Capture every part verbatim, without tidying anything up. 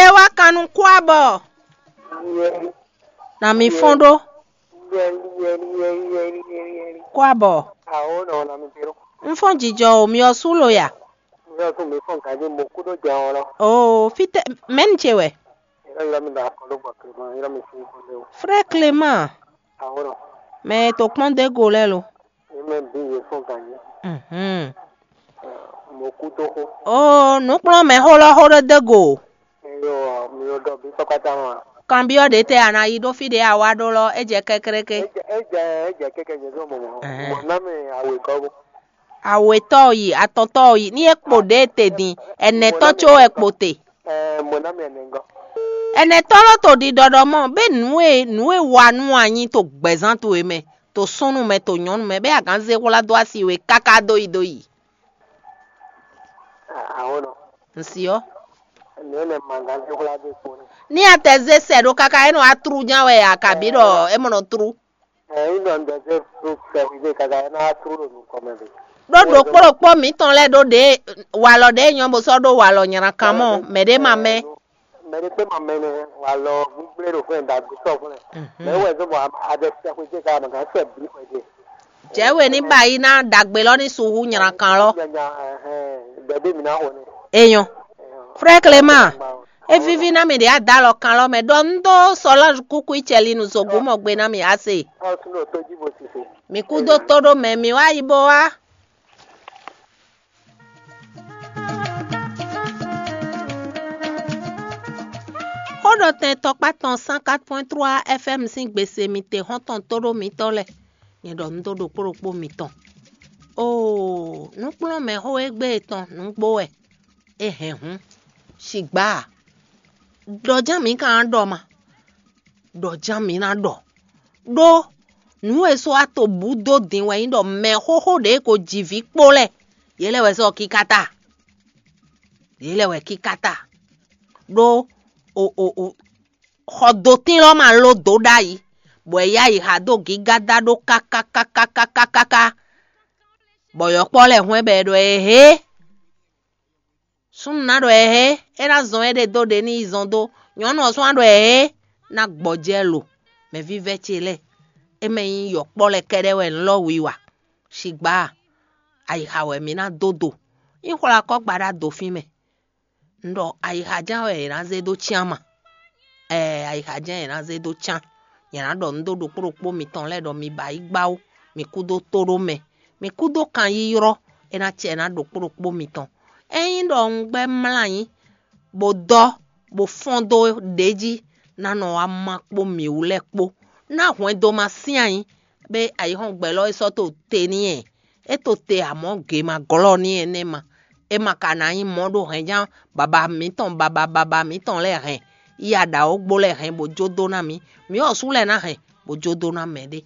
É wá kan nú kwábɔ. Na mi fɔ́n ɖó. Kwábɔ. Un fɔ́n jijɔ o, mi ɔ́ sú lo ya. Oo, fítɛ́ mɛ̌nu ce wɛ? Frère Clément, mɛ e to kpɔ́n dó go lɛ́ɛ lo? Mhm. Oo, nǔkplɔ́nmɛxó lɔ xó ɖó dó go. Kanbyɔ́ ɖě tɛ a nǎ yi ɖó fí ɖě a wá ɖó lɔ, é jɛ kɛ́kɛ́kɛ́. Awětɔ́ yi, atɔntɔ́ yi, ní é kpo ɖě e te din, ɛnɛtɔ́ có wɛ kpo te. Ɛnɛtɔ́ lɔ to ɖiɖɔ ɖɔ mɔ bé nǔ e nǔ e wa nú anyi to gbɛ̌zán towe mɛ, to súnnu mɛ, to nyɔ̌nu mɛ, bɛ́ a gǎn zé hwlá dó asi we káká dó yi dó yi. Nsi ɔ́. Ní a tɛ zé sɛ ɖó káká é nɔ wá tlú ján wɛ a kabǐ ɖɔ é mɔ nɔ tlú. Ɖó ɖokpó ɖokpó mǐtɔn lɛ́ɛ ɖó ɖě walɔ ɖě nyɔ́ bó sɔ́ ɖó walɔ nyraka mɔ mɛɖé ma mɛ. Mɛ ɖé kpé ma mɛ nɛ walɔ gbígbé ɖo fún ɛ ɖagbe sɔ fún ɛ. Mɛ wɛ zɔn bɔ adɛ sɛ xwé jɛ ka ma gán sɛ bí xwé jɛ. Jɛ we ní ba yi ná ɖagbe lɔ ní su hú nyrakan lɔ. Nya nya ɛhɛn dɛdé mi ná xo nɛ. Eyɔn. Frère Clément, é víví ná mi ɖě adalɔ kan lɔ mɛ ɖɔ un dó Solange kúkú icɛlinu zogbó mɔ gbe ná mi ase. Ɔ tún ɖo tó jí bo sise. Mi kú dó tó ɖó mɛ mi wá yi bó wá. Xó ɖɔ tɛn tɔkpá tɔn cent quatre point trois F M sín gbese mi te xɔ́ntɔn tóɖó mitɔn lɛ́ɛ. Nyɛ ɖɔ nǔ dó ɖokpó ɖokpó mitɔn. Oo, nǔkplɔ́nmɛ xó égbé tɔn nǔgbó wɛ. É hɛn hǔn, sigbǎ a? Ɖɔ ján mǐ ka ná ɖɔ ma? Ɖɔ ján mǐ ná ɖɔ. Ɖó nǔ e sɔ́ wá to bǔ dó din wɛ nyí ɖɔ mɛ xóxó ɖě ko ji vǐ kpó lɛ́ɛ, yě lɛ́ wɛ sɔ́ kíká ta. Yě lɛ́ wɛ kíká ta. Ɖó o o o xɔ dotín lɔ ma ló dó ɖ'ayǐ, bɔ è yá yi ha dó gǐgá dá ɖó kákákákákákáká, bɔ yɔ̌kpɔ́ lɛ́ɛ hwɛ́n bɔ è ɖɔ éhé. Súnnu ná ɖɔ ɛhɛn, é ná zɔn éɖée dó ɖě ní yi zɔn dó. Nyɔ̌nu ɔ́ sɔ́ ná ɖɔ ɛhɛn, ná gbɔjɛ́ lo, mɛvívɛ́ ce lɛ́ɛ. É mɛ nyí yɔ̌kpɔ́ lɛ́ɛ kɛ́ɖɛ́ wɛ un lɔ́ wiwa. Sigbǎ, ayixa wɛ mi ná dó do. Nyí xwlá kɔ́ gbaɖá do fín mɛ. Un ɖɔ ayixa ján wɛ è nǎ zé dó cyán ma. Ɛɛ, ayixa jɛ́n è nǎ zé dó cán. Nyɛ ná ɖɔ nǔ dó ɖokpó ɖokpó mitɔn lɛ́ɛ ɖɔ mi ba yi gbá ó, mi kú dó tóɖó mɛ, mi kú dó kanyiylɔ́, é ná cɛ ná ɖokpó ɖokpó mitɔn. Ényí ɖɔ un gbɛ́ mlá anyi, bó dɔ́, bó fɔ́n dó ɖě jí, ná nɔ wá má kpó mǐwú lɛ́ɛ kpó, ná hwɛndo ma sín anyi, bɛ ayǐhɔ́ngbe lɔ e sɔ́ to te n'i ɛ, é to te amɔ̌ gě ma glɔ́ n'i ɛ nɛ́ ma. É ma ka ná nyí mɔ̌ ɖó hɛ̌nján baba mǐtɔn baba baba mǐtɔn lɛ́ɛ hɛn, yi aɖǎwógbó lɛ́ɛ hɛn bó jó dó ná mǐ. Mǐ ɔ́ sú lɛ́ɛ ná hɛn bó jó dó ná mɛɖé.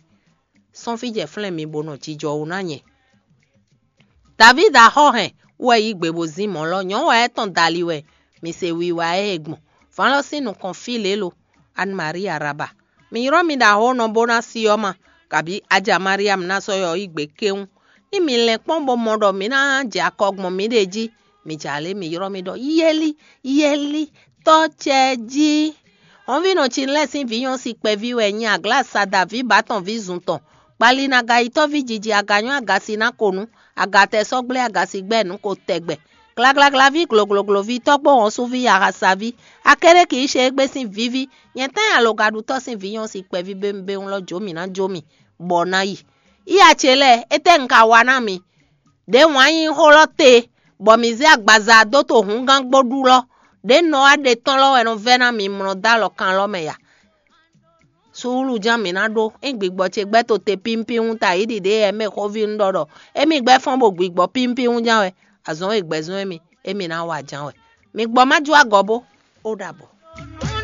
Sɔ́n fí jɛ flɛ́n mi bó nɔ jijɔ wú ná nyɛ. Davídi axɔ́ hɛn wɛ yí gbe bó zín mɔ̌ lɔ, nyɔ̌nu wɛ é tɔn dali wɛ, mi se wiwa ɛ e gbɔn. Vǎn lɔ sín nukɔn fí lě lo, Anne Marie Araba. Mi ylɔ́ mi ɖo axɔ́ nɔ bó ná si ɔ́ ma, kabǐ Aja Mariam ná sɔ́ yɔ yí gbe kéwún. Ní mi lɛn kpɔ́n bó mɔ ɖɔ mi ná jɛ akɔ gbɔn miɖée jí, mi jɛ alě mi ylɔ́ mì ɖɔ: Yeli, Yeli, tɔ́ ce jí. Hɔnvínɔ Cinlɛ́ɛ sín vǐ nyɔ́si kpɛví wɛ nyí Aglásada ví bǎ tɔn ví zun tɔn. Kpalinagayitɔ́ví jiji aganyɔ́ agasi ná ko nǔ, agatɛ sɔ́ gblé agasi gbɛ́ nǔ ko tɛgbɛ. Glaglaglaví gloglogloví tɔ́gbó wɔ̌nsuví yahasaví, Akéɖéki yí ṣe égbé sín víví, nyɛ tɛ́n alogaɖutɔ́ sín vǐ nyɔ́si kpɛví béwúnbéwún lɔ jó mì ná jó mì, bɔ ná yi. Iya ce lɛ́ɛ, étɛ́ un ka wa ná mi? Đě wǎn nyí xó lɔ te, bɔ mǐ zé agbaza dó to hǔngán gbó ɖu lɔ, ɖě nɔ wá ɖe tɔn lɔ wɛ nɔ vɛ́ ná mi mlɔ dó alɔ kan lɔ mɛ ya. Suúlu ján mǐ ná ɖó, é gbigbɔ ce gbɛ́ to te pínpín ta yí ɖiɖě yɛ mɛ xóví un ɖɔ ɖɔ émí gbɛ́ fɔ́n bo gbigbɔ pínpín ján wɛ, azɔn e gbɛzɔn émí, émí ná wa ján wɛ. Mi gbɔ má jó agɔ bó, ó ɖabɔ.